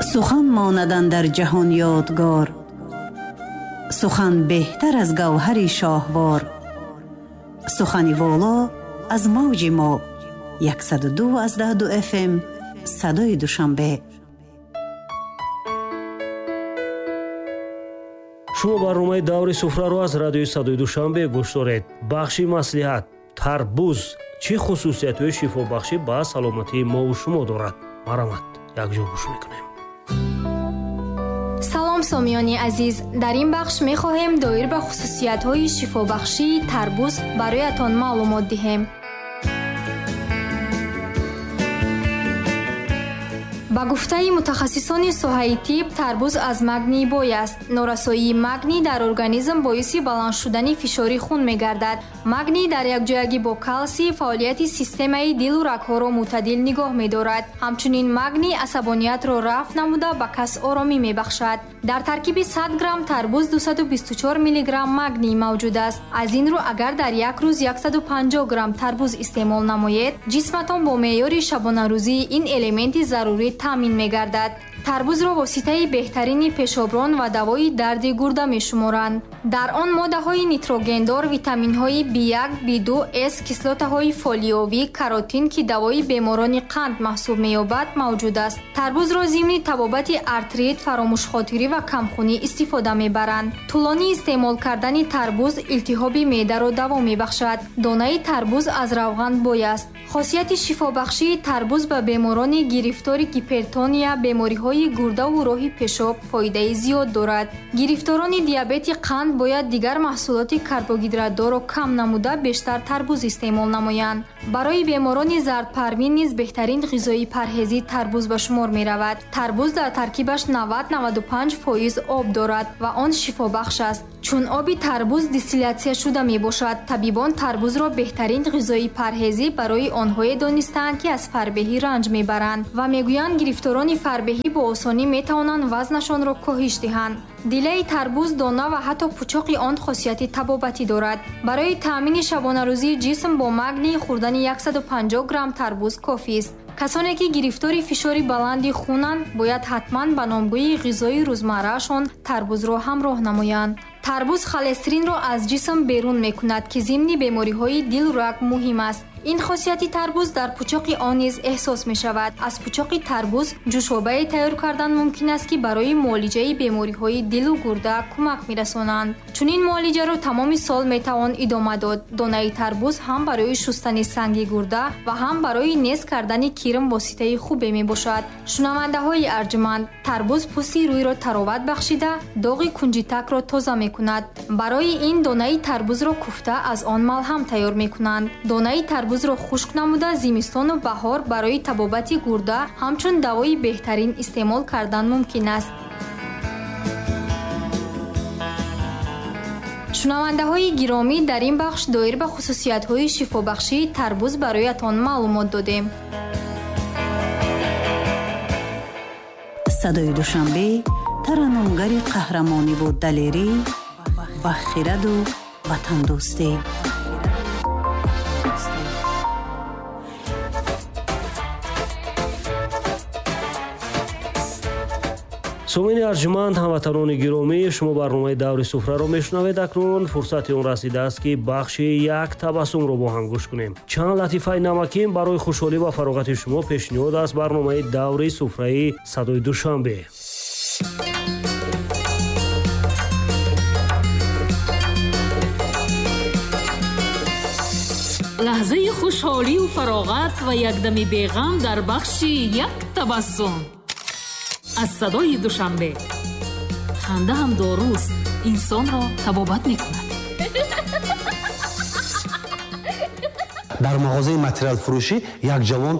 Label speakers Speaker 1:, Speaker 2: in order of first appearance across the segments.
Speaker 1: Сухан монад андар ҷаҳон ёдгор, сухан беҳтар аз гавҳари шоҳвор. Сухани воло аз мавҷи мо 102.2 FM садои Душанбе.
Speaker 2: Шумо барномаи даври суфраро аз радиои садои Душанбе гӯш доред. Бахши маслиҳат. Тарбуз чӣ хусусиятҳои шифобахшӣ ба саломатии мову шумо дорад? Марҳамат, якҷо гӯш мекунем.
Speaker 3: Салом сомиёни азиз, дар ин бахш мехоҳем доир ба хусусиятҳои шифобахшии тарбуз бароятон маълумот диҳем. Ба гуфтаи мутахассисони соҳаи тиб, тарбуз аз магний бой аст. Норасоии магний дар организм боиси баланд шудани фишори хун мегардад. Магний дар якҷоягӣ бо калсий фаъолияти системаи дилу рагҳоро мӯътадил нигоҳ медорад. Ҳамчунин магний асабониятро рафъ намуда ба кас оромӣ мебахшад. Дар таркиби 100 грамм тарбуз 224 миллиграмм магний мавҷуд аст. Аз ин рӯ агар дар як рӯз 150 грамм тарбуз истеъмол намоед, ҷисматон бо меъёри шабонарӯзии ин элементи зарурӣ таъмин мегардад. Тарбузро воситаи беҳтарини пешоброн ва давои дарди гурда мешуморанд. Дар он моддаҳои нитрогендор, витаминҳои B1, B2, С, кислотаҳои фолиовӣ, каротин, ки давои беморони қанд маҳсуб меёбад, мавҷуд аст. Тарбузро зимни табобати артрит, фаромӯшхотирӣ ва камхунӣ истифода мебаранд. Тӯлонӣ истеъмол кардани тарбуз илтиҳоби меъдаро даво мебахшад. Донаи тарбуз аз равған бой аст. Хосияти шифобахшии тарбуз ба беморони гирифтори гипертония, бемориҳои гурдаву роҳи пешоб фоидаи зиёд дорад. Гирифторони диабети қанд бояд дигар маҳсулоти карбогидратдорро кам намуда бештар тарбуз истеъмол намоянд. Барои беморони зардпарвин низ беҳтарин ғизои парҳезӣ тарбуз ба шумор меравад. Тарбуз дар таркибаш 90-95% об дорад ва он шифобахш аст. Чун оби тарбуз дистиллятсия шуда мебошад, табибон тарбузро беҳтарин ғизои парҳезӣ барои онҳое донистаанд, ки аз фарбеҳӣ ранҷ мебаранд ва мегӯянд гирифторони фарбеҳӣ бо осонӣ метавонанд вазнашонро коҳиш диҳанд. Дилаи тарбуз, дона ва ҳатто пучоқи он хосияти табобатӣ дорад. Барои таъмини шабонарӯзии ҷисм бо магний хӯрдани 150 грамм тарбуз кофист. Касоне ки гирифтори фишори баланди хунанд, бояд ҳатман ба номгӯи ғизои рӯзмарраашон тарбузро ҳамроҳ намоянд. Тарбуз холестеринро аз ҷисм берун мекунад, ки зимни бемориҳои дилу раг муҳим аст. Ин хосияти тарбуз дар пучоқи он низ эҳсос мешавад. Аз пучоқи тарбуз ҷӯшобае тайёр кардан мумкин аст, ки барои муолиҷаи бемориҳои дилу гурда кӯмак мерасонанд. Чунин муолиҷаро тамоми сол метавон идома дод. Донаи тарбуз ҳам барои шустани санги гурда ва ҳам барои нез кардани кирм воситаи хубе мебошад. Шунавандаҳои арҷманд, тарбуз пӯсти рӯйро тароват бахшида, доғи кунҷитакро тоза мекунад. Барои ин донаи тарбузро куфта аз он малҳам тайёр мекунанд. Донаи тарбузро хушк намуда зимистону баҳор барои табобати гурда ҳамчун давои беҳтарин истеъмол кардан мумкин аст. Шунавандаҳои гиромӣ, дар ин бахш доир ба хусусиятҳои шифобахшии тарбуз бароятон маълумот додем.
Speaker 1: Садои Душанбе тараннумгари қаҳрамониву далерӣ ва хираду ватандӯстӣ.
Speaker 2: Сомини арҷманд, ҳамватанони гиромӣ, шумо барномаи даври суфраро мешунавед. Акнун фурсати он расидааст, ки бахши як табассумро бо ҳам гӯш кунем. Чанд латифаи намакин барои хушҳолӣ ва фароғати шумо пешниҳод аст барномаи даври суфраи садои Душанбе.
Speaker 4: Лаҳзаи хушҳолию фароғат ва якдами беғам дар бахши як табассум аз садои Душанбе. Ханда ҳам доруст, инсонро табобат мекунад.
Speaker 5: Дар мағозаи материалфурӯшӣ як ҷавон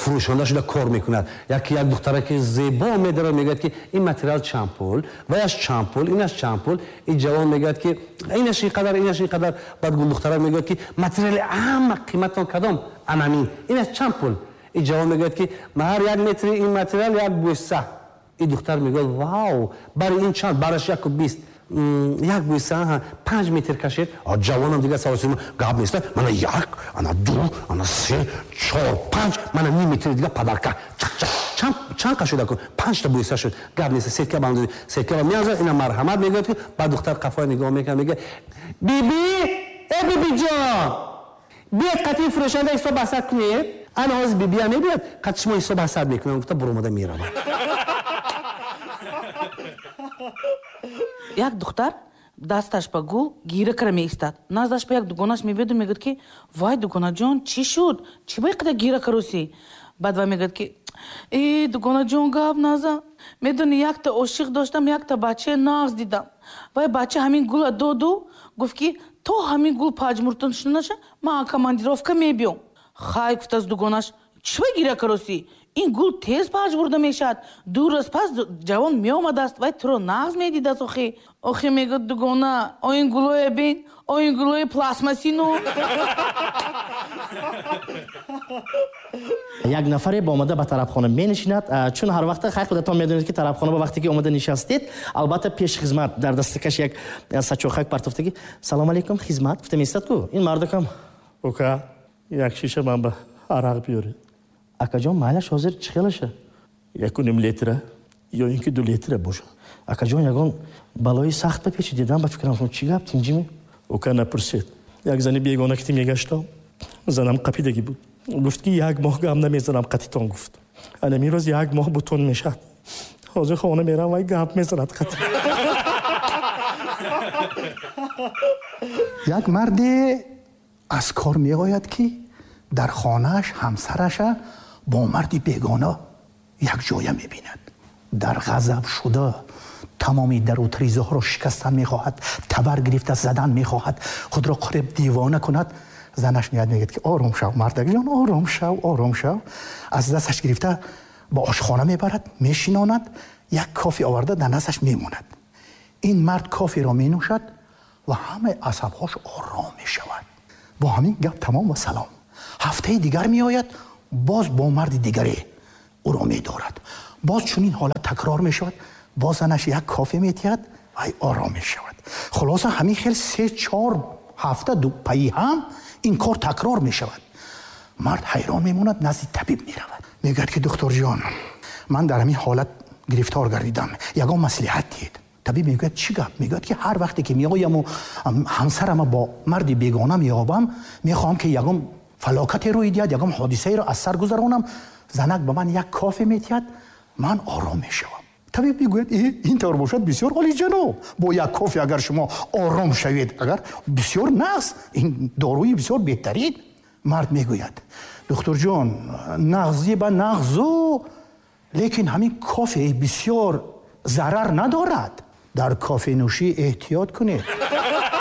Speaker 5: фурӯшонда шуда кор мекунад. Яке як духтараки зебо медарад, мегӯяд, ки ин материал чанд пул, ваяш чанд пул, инаш чанд пул. Ин ҷавон мегӯяд, ки инаш ин қадар, инаш ин қадар. Баъд гулдухтарак мегӯяд, ки материали ҳама қиматон кадом? Анамин. Инаш чанд пул? Ин ҷавон мегӯяд, ки ҳар як метри ин материал як бӯса. Ин духтар мегӯяд, вау, бари ин чанд? Бараш 1.20. Як бӯса 5 метр кашед. Ҷавонам дигар савол гап нест. Мана 1, ана 2, ана 3, 4, 5, мана ним метри дига падарка. Чанд қа шуда ку? 5 та бӯса шуд. Гап нест, сетка бандуди. Сетка меазад, ина марҳамат мегӯяд ки баъд духтар қафоя нигоҳ мекунад, мегӯяд: «Биби, э бибиҷон, биёд қатъи фурӯшанда ҳисоб ҳасад кунед». Ана ҳозир бибия мебиёд, қатъи шумо ҳисоб ҳасад мекунам, гуфта буромада меравад.
Speaker 6: Як духтар дасташ ба гул гира кара меистад. Наздаш ба як дугонаш мебиёду мегӯяд ки вай, дугонаҷон, чӣ шуд? Чӣ ба иқадар гира каросӣ? Баъд вай мегӯяд ки э, дугонаҷон, гап назан. Медони, якта ошиқ доштам, якта бачаи нағз дидам. Вай бача ҳамин гула доду гуфт ки то ҳамин гул паҷмуртон шуда наша, ман командировка мебиём. Хай, гуфтааст дугонаш, чӣ ба гира каросӣ? Ин гул тез паҷмурда мешавад. 2 рӯз пас ҷавон меомадааст, вай туро нағз медидааст. Охи охи, мегӯяд дугона, о ин гулое бин, о ин гулои пластмассину.
Speaker 7: Як нафаре ба омада ба тарабхона менишинад, чун ҳар вақта хай худатон медонед ки тарабхона ба вақте ки омада нишастед, албатта пеш хизмат дар дастакаш як сачохак партофтаги, салом алейкум, хизмат гуфта меистад ку. Ин мардакам:
Speaker 8: «Ука, як шиша ман ба арақ биёред».
Speaker 7: Акаҷон, майлаш, ҳозир чӣ хелаша?
Speaker 8: 1.5 литра ё ин ки 2 литра бошад.
Speaker 7: Акаҷон, ягон балои сахт ба печи дидам, ба фикрам, чӣ гап, тинҷими?
Speaker 8: Ука, напурсед. Як зани бегона ки мегаштам, занам қапидагӣ буд. Гуфт ки 1 моҳ гам намезанам қатитон, гуфт. Анами рӯз 1 моҳ бутун мешавад. Ҳозир хона мерам, вай гап мезанад қати.
Speaker 9: Як марде аз кор меояд ки дар хонааш ҳамсараша бо марди бегона якҷоя мебинад. Дар ғазаб шуда тамоми дару тризаҳоро шикастан мехоҳад, табар гирифта задан мехоҳад, худро қариб девона кунад. Занаш меяд, мегӯяд ки ором шав, мардакҷон, ором шав, ором шав. Аз дасташ гирифта ба ошхона мебарад, мешинонад, як кофе оварда дар дасташ мемонад. Ин мард коферо менӯшад ва ҳамаи асабҳош ором мешавад. Бо ҳамин гап тамом ва салом. Ҳафтаи дигар меояд, боз бо марди дигаре ӯро медорад. Боз чунин ҳолат такрор мешавад, боз занаш як кофе метиҳад ва ором мешавад. Хулоса ҳамин хел 3-4 ҳафта пайи ҳам ин кор такрор мешавад. Мард ҳайрон мемонад, назди табиб меравад. Мегӯяд ки духторҷон, ман дар ҳамин ҳолат гирифтор гардидам, ягон маслиҳат диҳед. Табиб мегӯяд чӣ гап? Мегӯяд ки ҳар вақте ки меояму ҳамсарама бо марди бегона меёбам, мехоҳам ки ягон фалокате рӯй диҳад, ягон ҳодисаеро аз сар гузаронам, занак ба ман як кофе метиҳад, ман ором мешавам. Табиб мегӯяд ин тавр бошад бисёр олиҷаноб, бо як кофе агар шумо ором шавед, агар бисёр нағз, ин доруи бисёр беҳтарин. Мард мегӯяд духтурҷон, нағзи ба нағзу, лекин ҳамин кофе бисёр зарар надорад. Дар кофенӯшӣ эҳтиёт кунед.